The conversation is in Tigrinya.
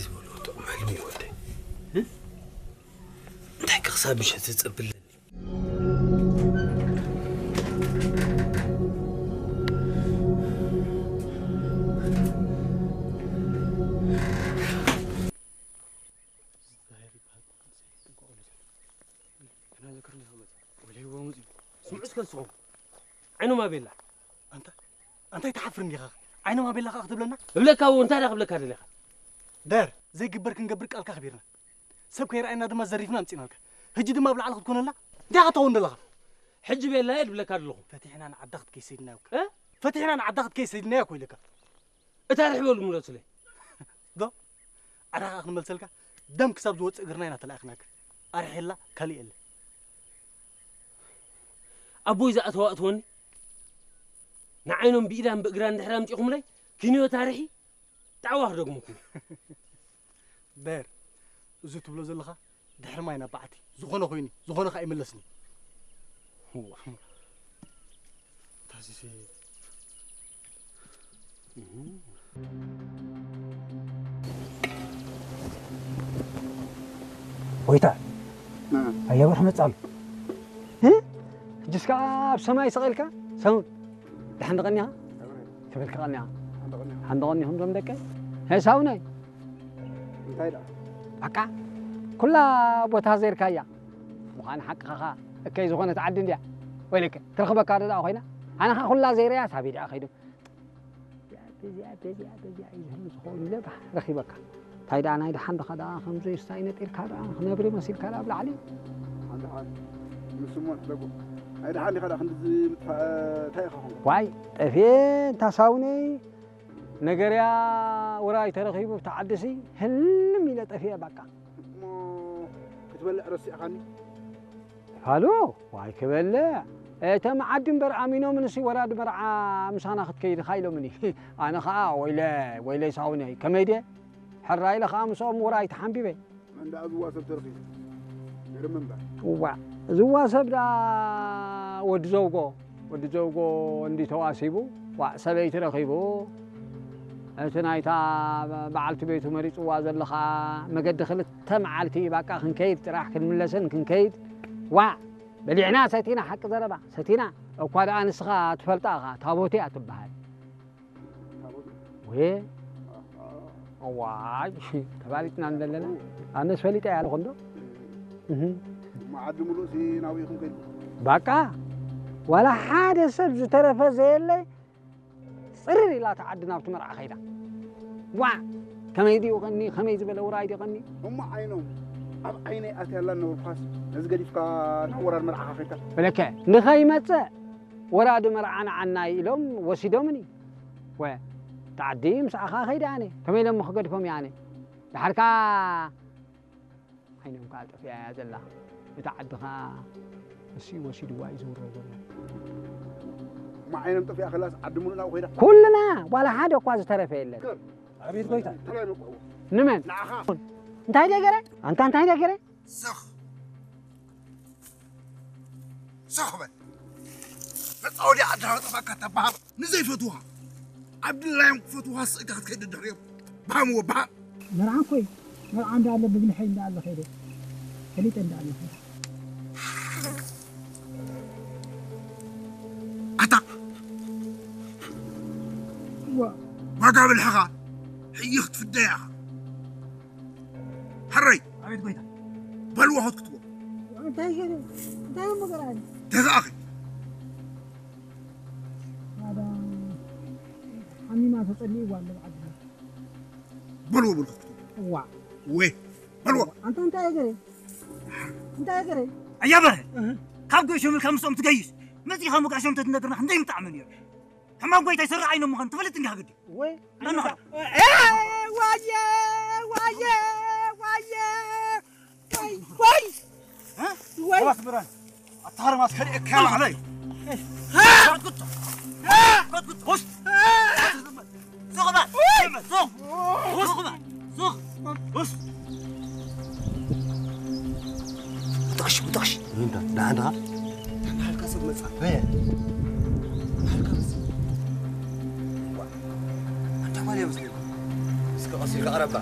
ዝበልዎ ጥዑም ሕልሚ እዩ ወደይ። እ? እንታይ ከ ክሳብ ምሸት ዝጸብለኒ? ስምዑ እስከ ንስኹም። ዓይኖም ኣቤላ። ኣንታ፣ ኣንታ ኣይትሓፍርን ዲኻ? ዓይኖም ኣቤላ ኸኣ ክትብለና? እብለካ እዎ፣ እንታይ ደኣ ክብለካ ደሊኻ? ደር፣ ዘይግበር ክንገብር ቃልካ ኣኽቢርና። ሰብ ከይረኣየና ድማ ዘሪፍና ኣምጺእናልካ። ሕጂ ድማ ኣብ ላዕሊ ክትኮነልና እንታይ ኢኻ ትኸውን ዘለኻ? ሕጂ ቤላ እየ ድብለካ ኣለኹ። ፈቲሕና ንዓዳ ክትከይድ ሰዲድናዮ እኮ። እ? ፈቲሕና ንዓዳ ክትከይድ ሰዲድናዮ እኮ ኢለካ። እታ ርሕበሉ ምለሱለይ። ዶ? ኣዳ ኸኣ ክንመልሰልካ፣ ደም ክሳብ ዝወጽእ እግርና ኢና ተላኢኽናካ። ኣርሒላ ካልእ የለ። ኣቦይ ዝኣተዋ ኣእትወኒ። ንዓይኖም ብኢዳን ብእግራን ድሕሪ ኣምጺኹምለይ፣ ኪንዮ ታሪኺ ጣዕዋ ክደግመኩም። በር፣ እዚ ትብሎ ዘለኻ ድሕሪ ማይ ናብ በዓቲ። ዝኾነ ኮይኑ፣ ዝኾነ ኸኣ ይምለስኒ። እዋ። ታሲሲ። ጎይታ፣ እ። ኣየበርህ መጻሉ። እ? ሕጅስ ከኣ ኣብ ሰማይ ስቕ ኢልካ፣ ሰሙን፣ ደሓን ደቐኒኻ? ክብል ከቐኒኻ። ሓንደቐኒኹም ዞም ደቀይ። ሄ ሳውነይ። እንታይ ደኣ? በቃ፣ ኩላ ቦታ ዘይርካያ። ምዃን ሓቅኻ ኸኣ፣ እከይ ዝኾነት ዓዲ እንድያ። ወይለከ፣ ትረኽበካ ዶ ደኣ ኮይና? ኣነ ኸኣ ኩላ ዘይረያ፣ ሳበይ ደኣ ከይዱ? በዚኣ፣ በዚኣ፣ በዚኣ እዩ ዝህሉ ዝኸውን ኢለ ባህ ረኺበካ። እንታይ ደኣ ናይ ደሓን ድኻ ደኣ ከምዚ ስታይ ነጢርካ ደኣ ክነብሪ መሲልካ ደኣ ኣብ ላዕሊ? ሓንደሓን ንስሞ ንሕደጎ። ናይ ደሓን ዲኻ ደኣ ክንድዚ ምጥፋእ እንታይ ኢኻ ኾንካ? ዋይ፣ ጠፍየ እንታ ሳውነይ ነገርያ ውራይ ተረኺቡ ብቲ ዓድሲ ህልም ኢለ ጠፍየ ባቃ። እሞ ክትበልዕ ረሲዕኻኒ? ፋሉ፣ ዋይ ክበልዕ። እቶም ዓዲ እምበር ኣሚኖምንሲ ወራዲ መርዓ ምሳና ክትከይድ ኢኻ ኢሎምኒ። ኣነ ኸኣ ወይለ፣ ወይለይ ሳውነይ፣ ከመይ ድየ? ሕራይ ኢለ ኸኣ ምስኦም ውራይ ተሓንቢበ። መን ደኣ ዝዋ ሰብ ተረኺቡ? ገርም እምበር። እዋ፣ ዝዋ ሰብ ደኣ ወዲ ዘውጎ፣ ወዲ ዘውጎ እንዲ ተዋሲቡ፣ ዋእ፣ ሰበይቲ ረኺቡ፣ እቲ ናይታ በዓልቲ ቤቱ መሪጽዋ ዘሎ ኸኣ መገዲ ክልተ መዓልቲ ባቃ ክንከይድ ጥራሕ ክንምለስን ክንከይድ። ዋእ፣ በሊዕና ሰቲና፣ ሓቂ ዘረባ ሰቲና። እኳ ደኣ ንስኻ ትፈልጣ ኢኻ፣ ታቦት እያ ትበሃል። ታቦት? ወየ? ኣሃ። እዋይ፣ ተባሊጥና እንደለና። ኣነስ ፈሊጠ እያ ኣለኹ እንዶ። እህ። መዓዲ ምሉእ ሲ ናብኡ ኢኹም ከይድኩም? ባቃ፣ ዋላ ሓደ ሰብ ዝተረፈ ዘየለ፣ ጽርር ኢላ እታ ዓዲ ናብቲ መርዓ ከይዳ። ዋእ፣ ከመይ ድዩ ቀኒ፣ ከመይ ዝበለ ውራይ ድዩ ቀኒ? እሞ ዓይኖም፣ ኣብ ዓይነይ ኣትያላ እናበልኩኻስ፣ ነዚ ገዲፍካ ናብ ወራድ መርዓኻ ከይድካ? በለከ፣ ንኸይመጽእ ወራዲ መርዓ ንዓና እዩ ኢሎም ወሲዶምኒ። ወ፣ እታ ዓዲ ምስኣኻ ከይደ ኣነ። ከመይ ኢለ እሞ ክገድፎም እየ ኣነ? ደሓር ከኣ ዓይኖም ከኣ ጠፊኣ እያ ዘላ። እታ ዓዲ ከኣ እሱ እዩ ወሲድዋ እዩ ዝውረ ዘሎ። እሞ ዓይኖም ጠፊኣ ከላስ ዓዲ ምሉእ ናብኡ ከይዳ? ኩልና ዋላ ሓደ እኳ ዝተረፈ የለን። ኣቤት ጎይታ። ተላይ መቋዎ። ንመን? ንዓኻ። እንታይ ደገረ? ኣንታ እንታይ ደገረ? ስኽ። ስኽ በል። መጻወዲ ዓድና መጠፋካ ተባሃብ። ንዘይፈትውኻ፣ ኣብ ድላዮም ክፈትውኻ ስእካ ክትከይድ ድሕሪኦም። ብሃምዎ፣ ብሃም። መርዓ እኮ እዩ። መርዓ እንዳለ ብብልሐይ እንዳለ ኸይደ። ፈሊጠ እንዳለ ኸይደ። ኣታ። እዋ። ዋጋ ብልሕኻ ሕይኽ ትፍደያ ኢኻ። ሕረይ። ኣቤት ጎይታ። በልዎ ሆት ክትዎ። እንታይ ገይሩ? እንታይ እሞ ገርኣኒ? ተዛኣኺ። ኣዳ ሓሚማ ተጸሊእዋ ኣሎ ብዓድና። በልዎ በልዎ ክትዎ። እዋ። ወይ። በልዎ። ኣንታ እንታይ ገረ? እንታይ ገረ? ኣያ በረ። እህ። ካብ ገሾም ኢልካ ምስኦም ትገይሽ። መጺኻ መጋሾም ተትነግርና ክንደይ ምጣዕሚ ነይሩ። ሕማም ጎይታ ይሰርሕ ኣይኖም ምዃን ትፈልጥ እንዲኻ ግዲ። ወይ። ነንኻ። እ፣ ዋየ፣ ዋየ፣ ዋየ። ወይ፣ ወይ። እ? ወይ። ኣባስ ብራን። ኣታ ሃርማስ ከሪኤካ ባዕለይ። እ? ሱቕ በል። ሱቕ። ሱቕ በል። ሱቕ። ሱቕ። ሱቕ። ውጣሽ፣ ውጣሽ። እንታይ? ደሓን ዲኻ? ደሓን ሓልካ ሰብ መጻ። በየ? ደሓን ሓልካ መጻ። ዋ፣ ኣንታ ጓል እያ መስለኒ። እስከ ቀስ ኢልካ ቀረባ።